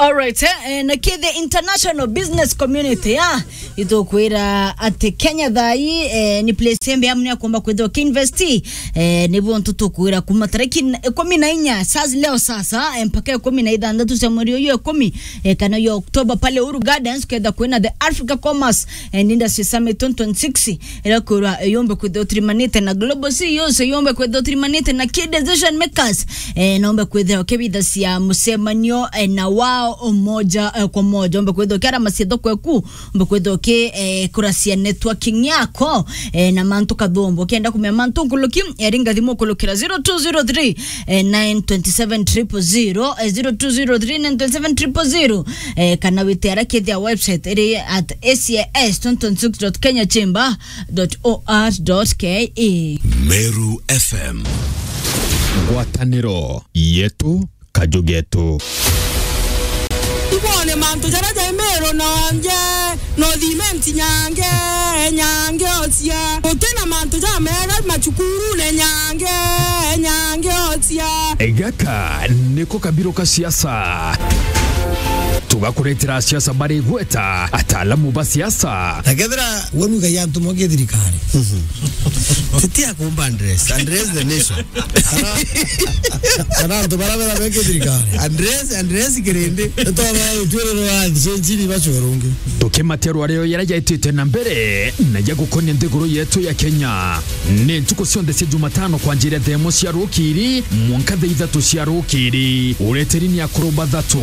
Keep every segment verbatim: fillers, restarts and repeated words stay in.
Alright, eh, eh, na ki the international business community, ah, itukwira ati Kenya thai, eh, ni place embe amu ni akomba kwithirwa ki invest, eh, ni bo ntu tukwira kuma tariki n-, ikumi na inya, sas leo sasa, eh, mpaka ikumi na ithanthatu cia mweri uyu ikumi, eh, kana yo October pale Uhuru Gardens, kwenda kwina the Africa Commerce and Industry Summit twenty twenty-six, ira kwirwa yombe kwithirwa utirimanite na global C E Os, yombe kwithirwa utirimanite na key decision makers, eh, nombe kwithirwa ukibithacia mucemanio, eh, na wao moja, eh, kwa moja. Ombe kwithirwa ukiaramacia thoko eku, ombe kwithirwa uki, eh, kuracia networking yako, eh, na mantu kathumbu. Ukienda kumenya mantu nkuluki, eh, ringa thimu ukulukira zero two zero three, eh, nine twenty seven triple zero, eh, zero two zero three nine twenty seven triple zero, eh, kana wite ara kithia website iri at A C S twenty twenty six dot kenya chamber dot O R dot K E. Meru F M. Ngwataniro yetu, kaju getu. Ibone mantu jaria jai Meru nonje, no thimenti nyange, nyange ocia. Gutina mantu jamega macukurune nyange, nyange ocia. Gaka niko kabiro ka siasa. Tugakuretera siasa bari gweta ataalamu ba siasa. Na kethira we nuga ya antu moke thirikari. Titia kumba address. Address the nation. Kana, kana antu bara bera beke thirikari. Address, address kirindi. Nitwaba utwiriro wa nchini bacwerungi. Tukimaterwa reo yara jaitite na mbere na ya gukonia nthiguru yetu ya Kenya. Ni ntuku cionthe cia Jumatano kwanjiria thaa imwe cia rukiri mwanka thaa ithatu cia rukiri. Ureteri ni akuru bathatu,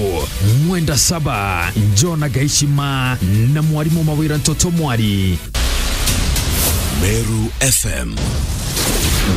Mwenda Saba, Jona Gaishima na mwarimu Mawira Ntoto Mwari. Meru F M.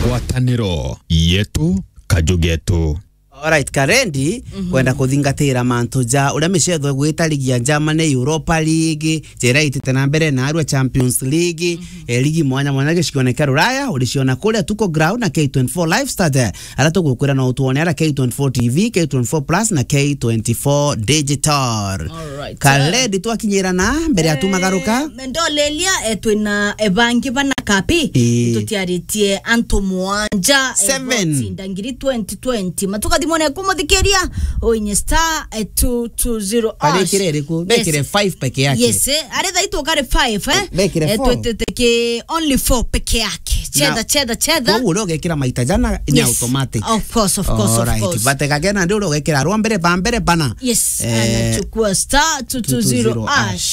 Ngwataniro yetu, kaju getu. Alright, Karendi, kwenda kuthingatira mantu ja uria micetho igwita ligi ya Germany, Europa League, jera itite na mbere na arua Champions League, eh, ligi mwanya mwanya gicione kia Ruraya, uriciona kuria Tuko Ground na K twenty-four Lifestyle, aria tugukwira no utwone ara K twenty-four T V, K twenty-four Plus na K twenty-four Digital. Alright. Karendi, twakinyira na mbere ya tumagaruka. Eh, ndolelia, eh, twina, eh, bangi bana kapi. Ii. Tutiaritie antu mwanja, eh, Seven. Botinda ngiri twenty twenty. Matuka thimone kumuthikiria, oinye star, eh, two two zero hash. Arikire iriku? Yes. Bekire five peke yake. Yes, eh, ari thaa itu kari five, eh? Bekire Eh, four. Twitite ki only four peke yake. Chetha, Na chetha, chetha. Koguo uria ugekira maita jana ni Yes. automatic. Of course, of course, of Alright. Course. Batega kena ndi uria ugekira rwa mbere, ba mbere bana. Yes, Eh, anachukua star two two zero hash.